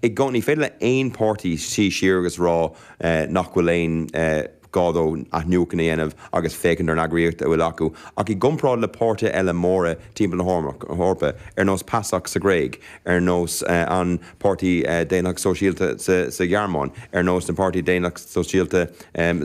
I gcónaí, ní féidir le aon páirtí suí siar agus rá nach bhfuil aon gá dó athnuachan a dhéanamh agus féachaint ar an eagraíocht a bhfuil acu. Ach i gcomparáid le páirtithe eile móra timpeall na hEorpa, ar nós PASOK sa Ghréig, ar nós an Páirtí Daonlathach Sóisialta sa Ghearmáin, ar nós na Páirtí Daonlathach Sóisialta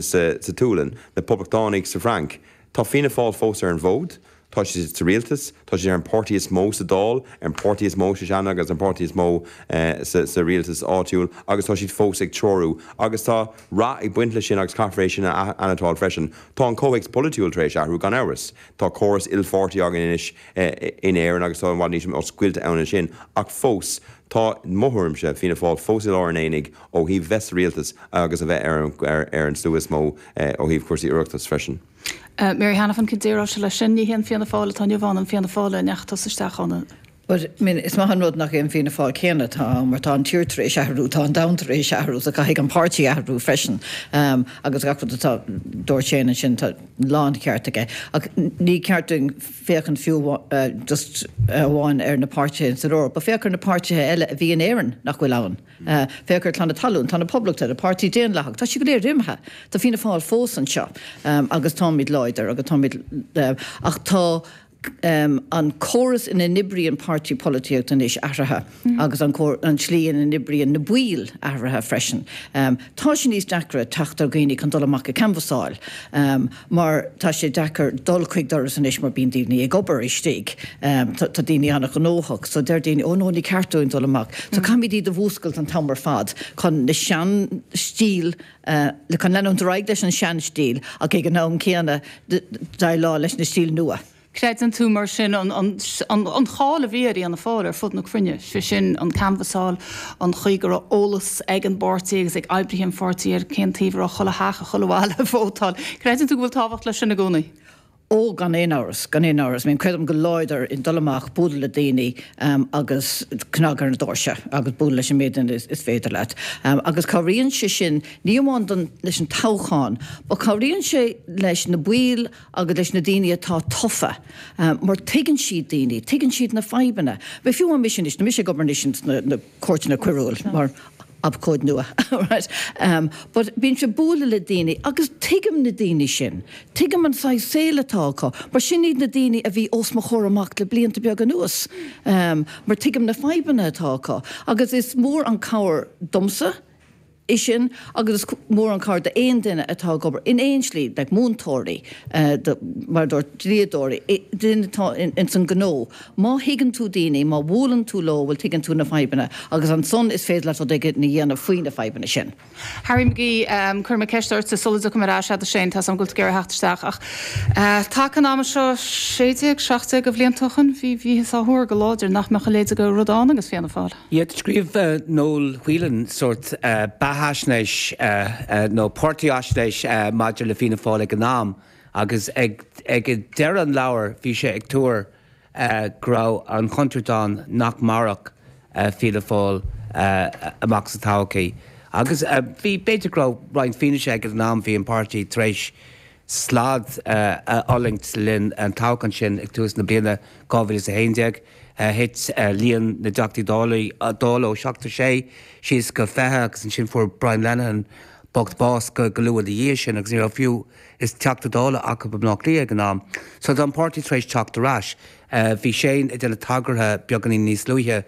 sa tSualainn, na Poblachtánaigh sa Fhrainc, tá Fianna Fáil fós ar an bhfód. Tá siad sa rialtas, tá siad ar an páirtí is mó sa Dáil, ar an páirtí is mó sa Seanad agus an páirtí is mó sa rialtas áitiúil agus tá siad fós ag treorú. Agus tá rath ag baint leis sin agus caithfear é sin a annotáil freisin. Tá an comhthéacs polaitiúil tar éis athrú, gan amhras. Tá córas ilpháirtí againn anois in Éirinn agus tá i bhfad níos mó oscailte ann ansin. Ach fós, tá, mo thuairimse, Fianna Fáil fós i lár an aonaigh ó thaobh bheith sa rialtas agus a bheith ar an slua is mó ó thaobh cúrsaí Oireachtais freisin. Mary Hanafin, cén déarfá leis sin? Ní hé an Fianna Fáil atá inniu ann an Fianna Fáil a ndeachaigh tusa isteach ann. But, I mean, is maith an rud nach é an Fianna Fáil céanna atá ann mar tá an tír tar éis athrú, tá an domhan tar éis athrú so caithfidh an páirtí athrú freisin agus gach rud atá, dúirt Shane ansin, tá láncheart aige. Ach ní ceart dúinn féachaint fiú just amháin ar na páirtithe san Eoraip, but féach ar na páirtithe eile a bhí in Éirinn nach bhfuil ann. Féach ar Clann na Talún, tá na Poblachtaithe, Páirtí Daonlathach, tá siad go léir imithe. Tá Fianna Fáil fós anseo agus táimid láidir agus táimid, ach tá an córas ina n-oibríonn páirtí polaitíochta anois athraithe agus an an tslí ina n-oibríonn na baill athraithe freisin. Tá sé níos deacra teacht ar dhaoine chun dul amach ag canbhasáil. mar tá sé deacair dul chuig doras anois mar bíonn daoine ag obair istigh, tá daoine an-ghnóthach so deir daoine oh no ní ceart dúinn dul amach. So caithfimid iad a mhúscailt an t-am ar fad chun na sean stíl, chun leanúint ar aghaidh leis an sean stíl ach ag an am céanna déileáil leis na stíl nua. Creideann tú, mar sin, an cháil a bhí ar Fhianna Fáil ar fud na cruinne, sé sin, an canbhasáil, an chaoi go raibh eolas ag an bpáirtí agus ag oibrithe an pháirtí ar cén taobh a raibh chuile theach, chuile bhaile ag vótáil. Creideann tú go bhfuil tábhacht leis sin i gcónaí? Ó, gan aon amhras, gan aon amhras. I mean, creidim go láidir i dul amach, bualadh le daoine agus cnag ar na doirse agus bualadh leis an méid duine is féidir leat. Agus cabhraíonn sé sin, ní amháin don, leis an toghchán, but cabhraíonn sé leis na baill agus leis na daoine atá tofa, mar tuigeann siad daoine, tuigeann siad na fadhbanna. Bhuel, fiú amháin mise anois, tá mise ag obair anois ins na cúirteanna coiriúil mar abhcóide nua, right? But bímse ag bualadh le daoine agus tuigim na daoine sin, tuigim an saghas saoil atá acu, mar sin iad na daoine a bhí os mo chomhair amach le blianta beaga anuas, mar tuigim na fadhbanna atá acu agus is mór an cabhair domsa, é sin agus is mór an cabhair d'aon duine atá ag obair in aon slí, like múinteoirí, do, mar a dúirt, dlíodóirí, duine atá ins an gnó. Má thuigeann tú daoine, má bhuaileann tú leo, bhuel tuigeann tú na fadhbanna agus ansan is féidir leat rud éigin a dhéanamh faoi na fadhbanna sin. Harry McGee, Cuirfidh mé ceist ortsa sula dtiocfaidh mé ar ais agat a Shane, tá 's agam go bhfuil tú ag iarraidh theacht isteach ach taca an ama seo, 16, 17 de bhlianta ó shoin, bhí, bhíothas á thuar go láidir nach mbeadh a leithéid de rud ann agus Fianna Fáil. Yeah, scríobh Noel Whelan sórt beathaisnéis nó páirtífhaisnéis maidir le Fianna Fáil ag an am agus ag deireadh an leabhair bhí sé ag tuar go raibh an chontúirt ann nach mairfeadh Fianna Fáil amach sa todhchaí. Agus bhí, b'fhéidir go raibh roinnt fianaise aige ag an am, bhí an páirtí tar éis slad a fhulaingt le linn an toghcháin sin ag tús na bliana 2011. Thit líon na dTeachtaí Dála ó 76 síos go 20 agus ansin fuair Brian Lenihan bocht bás go luath ina dhiaidh sin agus ní raibh fiú is Teachta Dála acu i mBleá Cliath ag an am. So tá an páirtí tar éis teacht ar ais. Bhí Shane ag déanamh tagartha beagáinín níos luaithe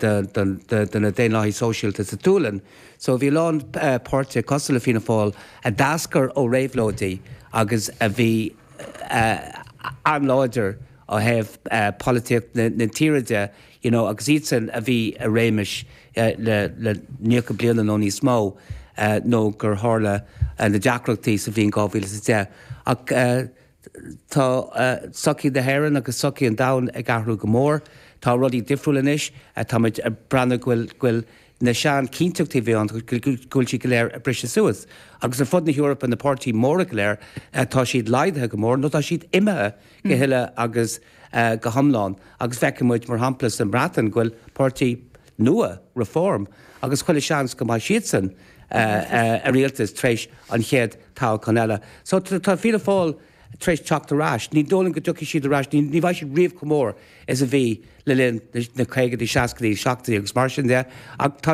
do na Daonlathaigh Sóisialta sa tSualainn. So bhí a lán páirtithe cosúil le Fianna Fáil a d'eascair ó réabhlóidí agus a bhí an-láidir ó thaobh polaitíocht na tíre de, you know, agus iadsan a bhí i réimeas le 90 bliana nó níos mó nó gur tharla na deacrachtaí sa bhliain 2010. Ach tá sochaí na hÉireann agus sochaí an domhain ag athrú go mór. Tá rudaí difriúil anois. Táimid ag breathnú go bhfuil, go bhfuil na sean-chinnteachtaí a bhí ann, go bhfuil siad go léir ag briseadh suas. Agus ar fud na hEorpa, na páirtithe móra go léir, tá siad laghdaithe go mór nó tá siad imithe go huile agus go hiomlán. Agus feiceann muid, mar shampla, sa mBreatain go bhfuil páirtí nua, Reform, agus chuile sheans go mbeidh siadsan i rialtas tar éis an chéad toghchán eile. So tá Fianna Fáil tar éis teacht ar ais. Ní dóigh liom go dtiocfaidh siad ar ais, ní bheidh siad riamh chomh mór is a bhí le linn na caogaidí, seascaidí, seachtóidí agus mar sin de, ach tá.